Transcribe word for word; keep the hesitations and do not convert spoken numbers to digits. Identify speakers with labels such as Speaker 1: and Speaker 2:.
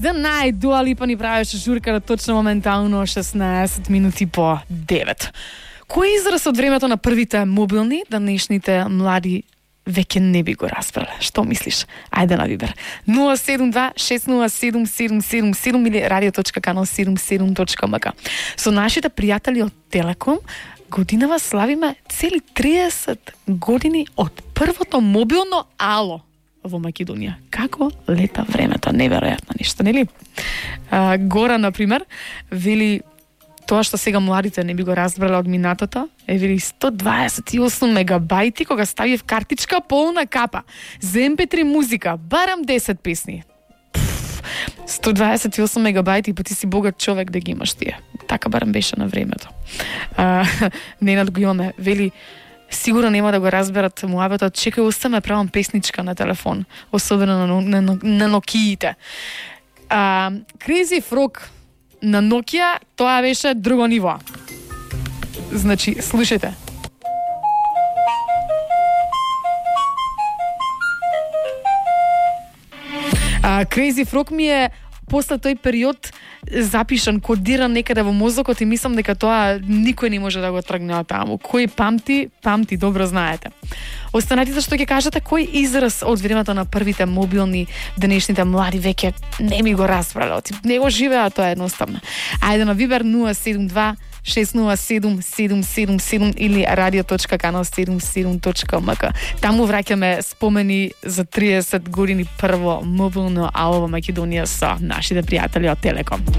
Speaker 1: The Night, Dua Lipa ни правеше журка точно моментално шеснаесет минути по девет. Кој израз од времето на првите мобилни, денешните млади веќе не би го разбрале? Што мислиш? Ајде на Вибер. нула седум два шест нула седум седум седум седум или радио точка канал седумдесет и седум точка ем ка. Со нашите пријатели од Телеком годинава славиме цели триесет години од првото мобилно ало во Македонија. Како лета времето, неверојатно нешто, нели? А, Гора, например, вели тоа што сега младите не би го разбрале од минатото, е вели сто дваесет и осум мегабајти кога ставив картичка полна капа. За ем пе три музика, барам десет песни. Пф, сто дваесет и осум мегабајти, па ти си богат човек да ги имаш тие. Така барам беше на времето. А, Ненад го имаме, вели сигурно нема да го разберат муабетот, чекај, остаме правам песничка на телефон, особено на, на, на, на Нокиите. А, Crazy Frog на Nokia, тоа беше друго ниво. Значи, слушајте. А, Crazy Frog ми е после тој период запишан, кодиран некаде во мозокот и мислам дека тоа никој не може да го тргне од таму. Кој памти, памти, добро знаете. Останатите што ќе кажете, кој израз од времето на првите мобилни, денешните млади веќе не ми го разбрале, не го живеа тоа едноставно. Ајде на Вибер нула седум два шест нула седум седум седум седум или радио точка канал седумдесет и седум точка ем ка. Таму враќаме спомени за триесет години прво мобилно ало во Македонија со нашите пријатели од Телеком.